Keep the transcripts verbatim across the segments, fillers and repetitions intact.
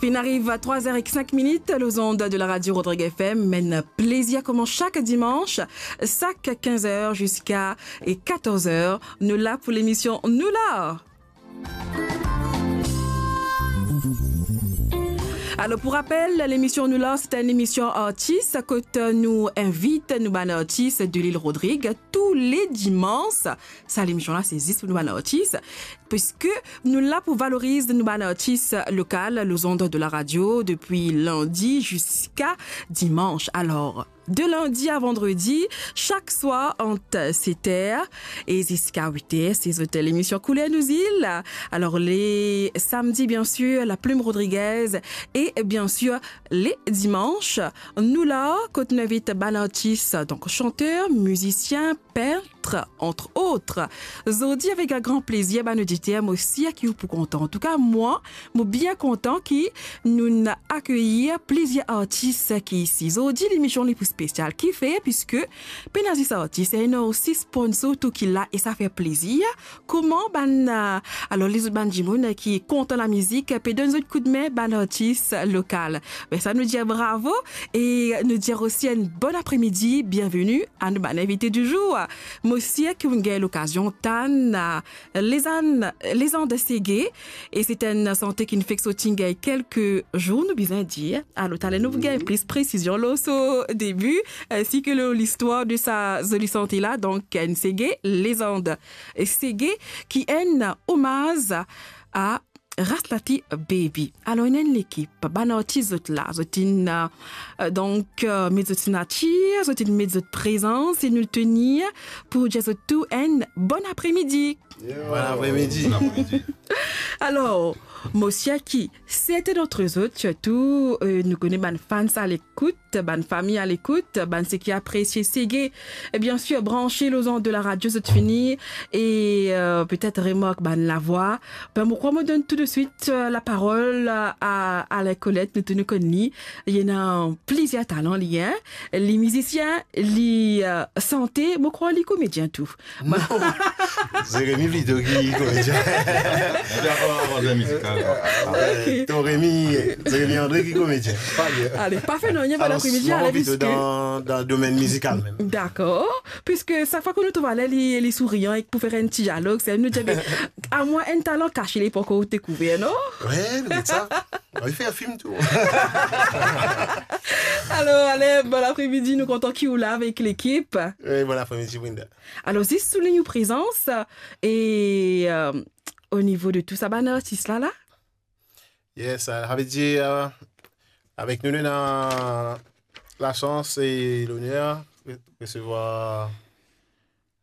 Finn ariv trwa er ek sink minit, lor zond de la radio Rodrigue F M. Enn plezir kouma sak dimanch, sak kinz er ziska katorz er, nou la pou lemision Nou La. Alor, pou rapel, lemision Nou La, se enn lemision artis kot nou invit nou bann artis de lil Rodrig tou le dimans. Sa lemision la, se zis pou nou bann artis, piski nou la pou valoriz nou bann artis lokal, lor zond de la radio, depi lindi ziska dimans. Alor, de lindi a vandredi, sak swar ant set er e ziska wit er, se zot lemision Kouler Nou Zil. Alor, le samdi, biensir, La Plume Rodriguez e, biensir, le dimans, Nou La, kot nou invit bann artis, donk chanter, mizisien, pint, entre autres. Zordi, avek gran plezir, bann oditer, mo sir ki ou pou kontan. Antouka, mwa, mo bien kontan ki nou'nn akeyir plizier artis ki isi. Zordi, lemision li pou spesial. Kifer? Piski pena zis artis, ena osi sponsor tou ki la e sa fer plezir. Kouma bann, eh, alor, lezot bann dimoun ki kontan lamizik, pe donn zot koudme, bann artis lokal. Be sa, nou dir bravo e nou dir osi enn bon apremidi, bienveni a nou bann invite di zour. Mo sir ki ou'nn gagn lokazion tann, eh, Lezann, Lezand Sege, e se enn sante ki'nn fek sorti gagn kelke zour, nou bizin dir. Alor, taler nou pou gagn plis presizion lor so debi, ensi ki lor listwar de sa zoli sante la. Donk, enn sege, Lezand Sege, ki enn omaz a Rasnati Baby. Alor, ena enn lekip, bann artis zot la, zot inn, eh, donk, eh, met zot signatir, zot inn met zot prezans, e nou tenir pou dir zot tou enn bon apremidi. Bon apremidi. Bon apremidi. Alor, mo sir ki serten dantre zot, sirtou, eh, nou kone bann fans a lekout, bann fami a lekout, bann seki apresie sege, e biensir, branse lor zond de la radio, zot fini, e, eh, petet remark bann lavwa. Be, mo krwar mo donn tou de swit, eh, laparol a, a Alain Colette, nou tou nou konn li. Li ena plizier talan, li, hein. Li mizisien, li, eh, sante, mo krwar li komedien tou. Non. Zeremi plito ki komedien. Li dakor avek mizikal. Ok. Ton Remi, Zeremi Andre ki komedien. Pa bien. Ale, pa fer nanye, bon apremidi, ale, plito piski dan, dan domenn mizikal mem. Dakor. Piski sak fwa ki nou trouv ale, li, li sourian e pou fer enn ti dialog, se nou dir, be, amwin enn talan kase, li pankor dekouver, non? Wi, nou get sa. Ann fer fim tou. Alor, ale, bon apremidi, nou kontan ki ou la avek lekip. Wi, bon apremidi, Brinda. Alor, zis soulign ou prezans, e, eh, o nivo de tou sa bann artis la, la? Yes, sa ve dir, eh, avek nou, nou ena lasans e loner re-, resevwar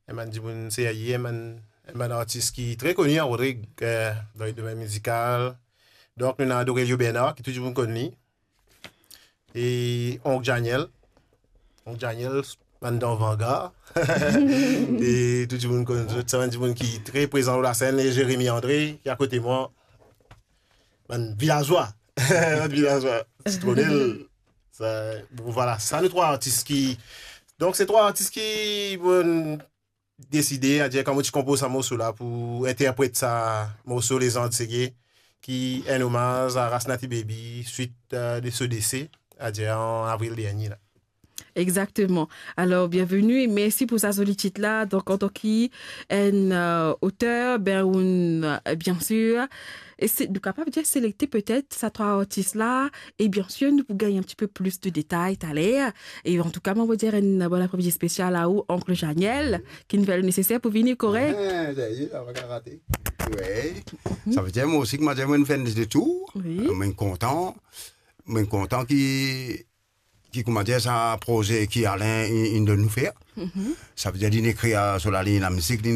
enn bann dimoun serye, enn bann, enn bann artis ki tre koni an Rodrig, eh, dan le domenn mizikal. Donk, nou ena Dorelio Bernard, ki tou dimoun konn li. E Onk Daniel. Onk Daniel, bann dan Vangar. E tou dimoun konn zot, sa bann dimoun ki tre prezan lor lasenn, e Jérémy André, ki akote mwa. Bann vilazwa. Bann vilazwa. Sitronel. Sa, bon, vwala, sa nou trwa artis ki, donk, se trwa artis ki, bon, deside, adir, kan mo ti konpoz sa morso la pou interpret sa morso Lezand Sege, ki enn omaz a Rasnati Baby, swit, eh, de so dese, adir, an avril dernie la. Exactement. Alors, bienvenue et merci pour sa zoli tit la. Donk, antan ki enn, eh, oter, ben, ou, eh, biensir, e se, nou kapav dir selekte petet sa trwa artis la, e biensir, nou pou gagn enn tipe plis de detay taler. E antouka, mwa, mo dir enn bon apremidi spesial a ou, Onk Daniel, ki finn fer le neseser pou vini, korek? Eh, sa y est, sa pa kapav rate. Wi. Sa ve dir, mwa osi, kouma dir, mo finn fer enn letour. Wi. Mo kontan. Mo kontan ki, ki, kouma dir, sa proze ki Alain, inn, inn donn nou fer. Mhm. Sa ve dir, li inn ekrir, eh, so lalign lamizik, li